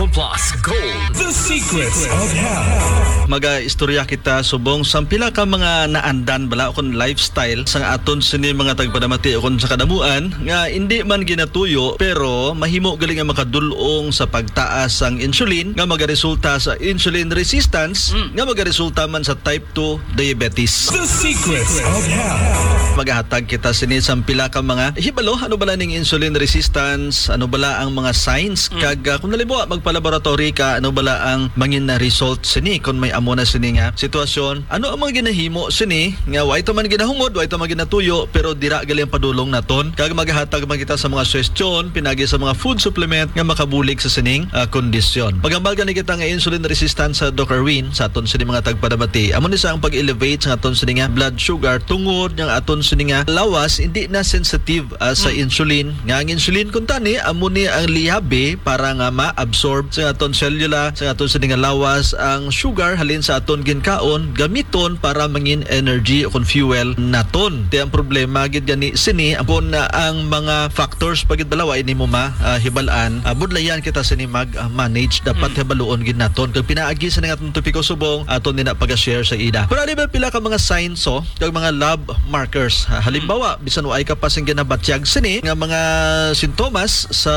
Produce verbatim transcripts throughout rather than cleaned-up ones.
Plus Gold. The Secrets of Health. Maga-istorya kita subong sang pila ka mga naandan bala ukon lifestyle sang aton sini mga tagpadamati ukon sa kadamuan nga indi man ginatuyo pero mahimo gali nga makadul-ong sa pagtaas sang insulin nga magaresulta sa insulin resistance Mm. nga magaresulta man sa type two diabetes. The Secrets of Health. Magahatag kita sini sang pila ka mga hibalo, ano bala ning insulin resistance, ano bala ang mga signs, Mm. kag, ah, kung halimbawa magpa-laboratory ka, ano bala ang mangin na result sini kung may amo na sini nga sitwasyon? Ano ang mga ginahimo sini nga way ta man ginahungod, way ta man ginatuyo, pero dira gali ang padulong naton? Kag magahatag man kita sa mga suhestyon pinagi sa mga food supplement nga makabulig sa sining, ah, kondisyon. Maghambal gani kita nga insulin resistance sa Doc Erwin sa aton sini mga tagpadamati. Amo ni sa ang pag-elevate sa aton sini nga blood sugar tungod nga aton sini nga lawas hindi na sensitive, ah, sa Mm. insulin. Nga ang insulin kuntani amo ni ang liyabi para nga ma-absorb sa aton selula, sa aton sini nga lawas ang sugar halin sa aton ginkaon gamiton para mangin energy o kon fuel naton. Ti ang problema gid gani sini kon, ah, ang mga factors pa gid bala wa ini mo ma, ah, hibal-an. Ah, budlayan kita sini mag, ah, manage. Dapat Mm. hibaluon gid naton. Kag pinaagi sa nga atong topiko subong, aton ni na pag-share sa ida. Pero ali ba pila ka mga signs, oh, kag mga lab markers? Ah, halimbawa, bisan wa ay ka pa sing ginabatyag sini nga mga sintomas sa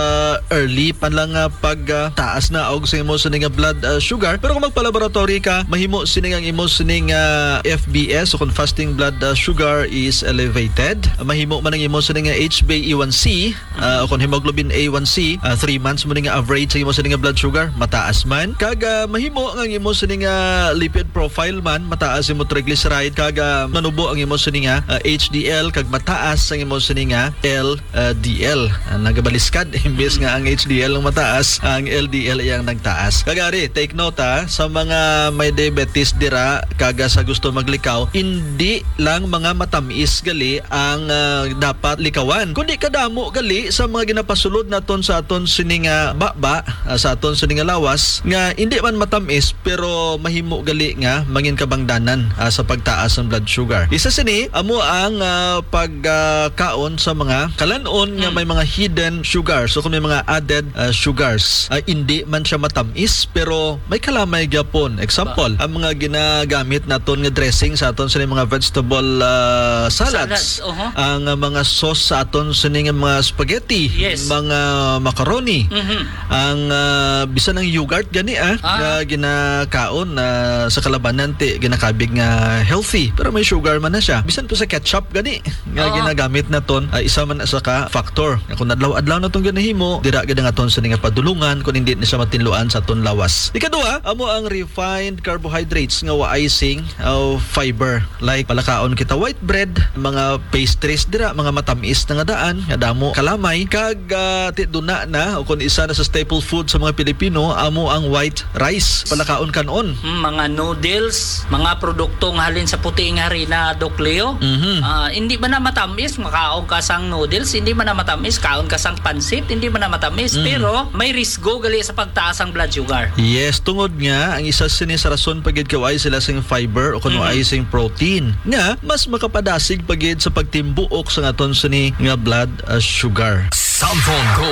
early pa lang nga pag, ah, taas na og sa imo sini nga blood, ah, sugar. Pero kung magpa-laboratory ka, mahimo sini nga ang imo sini nga F B S o kung fasting blood, ah, sugar is elevated. Mahimo man ang imo sini nga H b A one C, ah, o kung hemoglobin A one C, ah, three months mo ni nga average sa imo sini nga blood sugar, mataas man. Kag, ah, mahimo nga ang imo sini nga lipid profile man, mataas imo triglyceride, kag, ah, manubo ang imo sini nga, ah, H D L, kag mataas ang imo sini nga L D L. Ah, nagabaliskad, imbes nga ang H D L ang mataas, ang L D L ay ang nagtaas. Kag ari, take note, ha, sa mga may diabetes dira, kag, ah, sa gusto maglikaw, hindi lang mga matamis gali ang, ah, dapat likawan, kundi kadamo gali sa mga ginapasulod naton sa aton sini nga baba, ah, sa aton sini nga lawas, nga hindi man matamis, pero mahimo gali nga mangin kabangdanan, ah, sa pagtaas ng blood sugar. Isa sini, amo ang, ah, pag, ah, kaon sa mga kalan-on nga Mm. may mga hidden sugars o kung may mga added, ah, sugars. Ah, hindi man siya matamis, pero may kalamay gyapon. Example, ang mga ginagamit naton nga dressing sa aton sini mga vegetable, ah, salads. Salads, oho. Ang, ah, mga sauce sa aton sini nga mga spaghetti, Yes. mga macaroni. Mhm. Ang, ah, bisan ang yogurt gani, ah, Ah. nga ginakaon, ah, sa kalabanan ti ginakabig nga healthy, pero may sugar man na siya. Bisan po sa ketchup gani nga Oo. ginagamit naton, ah, isa man na sa ka factor. Nga kung adlaw-adlaw na tong ginahimo, dira gid ang aton sini nga padulungan kung hindi na siya matinluan sa aton lawas. Ikaduha, amo ang refined carbohydrates nga waay sing, ah, fiber. Like, palakaon kita white bread, mga pastries dira, mga matamis na nga daan, nga damo kalamay, kag, ah, ti duna na, o kung isa na sa staple food sa mga Pilipino, amo ang white rice. Palakaon kanon. Mm, mga noodles, mga produkto nga halin sa puti nga harina, Doc Leo. Mhm. Ah, hindi man na matamis, makaon ka sang noodles, hindi man na matamis, kaon ka sang pansit, hindi man na matamis, Mhm. pero may risgo gali sa pagtaas ang blood sugar. Yes, tungod nga ang isa sini sa rason pa gid kay waay sila sing fiber o kung Mhm. waay sing protein nga mas makapadasig pa gid sa pagtimbuok sa aton sini nga blood, ah, sugar. Samson Go.